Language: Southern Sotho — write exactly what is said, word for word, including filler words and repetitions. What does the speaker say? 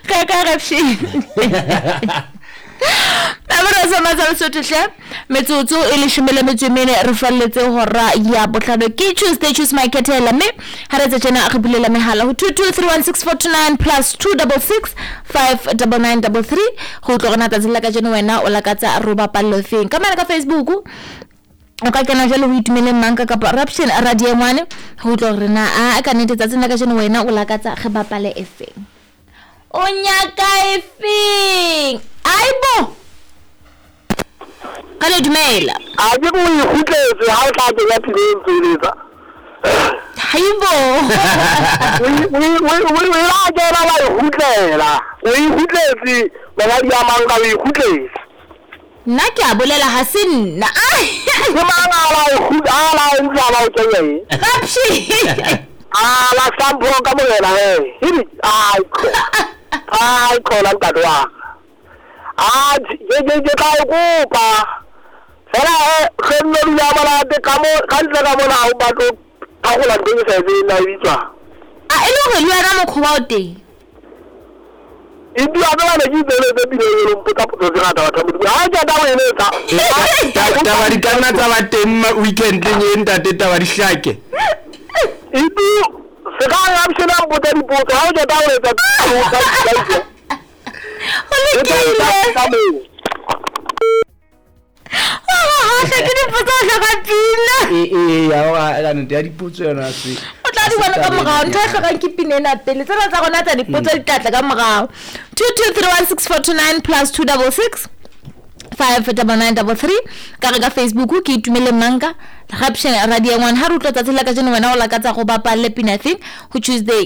Ka ka rapshe. Abra sa matsa Lesotho hle. Metsotso e leshome le metso e mene re falletse hora ya bohlano. Ke Tuesday choose my khethela mme ha re tse tjena re bulela mehala ho two two three one six four two nine plus two double six five double nine double three go utlwa gona tsatsing la kajeno wena o lakatsa ro bapallo feng. Ka mane ka Facebook o ka kena jwale ho itumeleng manka kapa Raption Radio ngwane go utlwa gore na a ka nnete tsatsing la kajeno wena o lakatsa re bapale e feng. O nyaka e feng? Aibo. Ka le dumela. A ke go ikgutletse ha o tla kenya pineng tsweletsa. Haibo. O la kena wa ikgutlela. O ikgutletse mongadi ya mang ka o ikgutletse. Nna ke a bolela ha se nna. Ke mang a la ikgutla a la ntse a ba o kenya eng? Rapshi. A la sampo ka morena he. Hidi ai ko. Ai khona ntate wa ka. A ke ke ke tla o kopa. Fela he ge nno dula monate ka mo ka ntle ka mona ha o batlo thagola ntho e ke sa e tsebeng na e bitswang. A e le hore le wena mokgwa o teng. E bua ka bana ke itseletse pineng eno mpotsa potso tse ngata batho ba Modimo. Ha ke taba eno etsa. Taba di ka nna tsa ba teng weekendeng e ntate taba di hlake. Itu se ka option a mpotsa dipotso ha o qeta ho etsa Ho lokile. Hohle ke dipotso o hloka pina. E e ya wa ka nnete ya dipotso yona se. O tla di bona ka morao ntho e hlokang ke pina ena pele. Tsena tsa rona tsa dipotso di tla tla ka morao. two two three one six four two nine plus two double six five double nine double three ka re ka Facebook ke itumele manka Raption Radio ngwana ha re utlwa tsatsi la kajeno wena o lakatsa go bapalle pina thing ho Tuesday.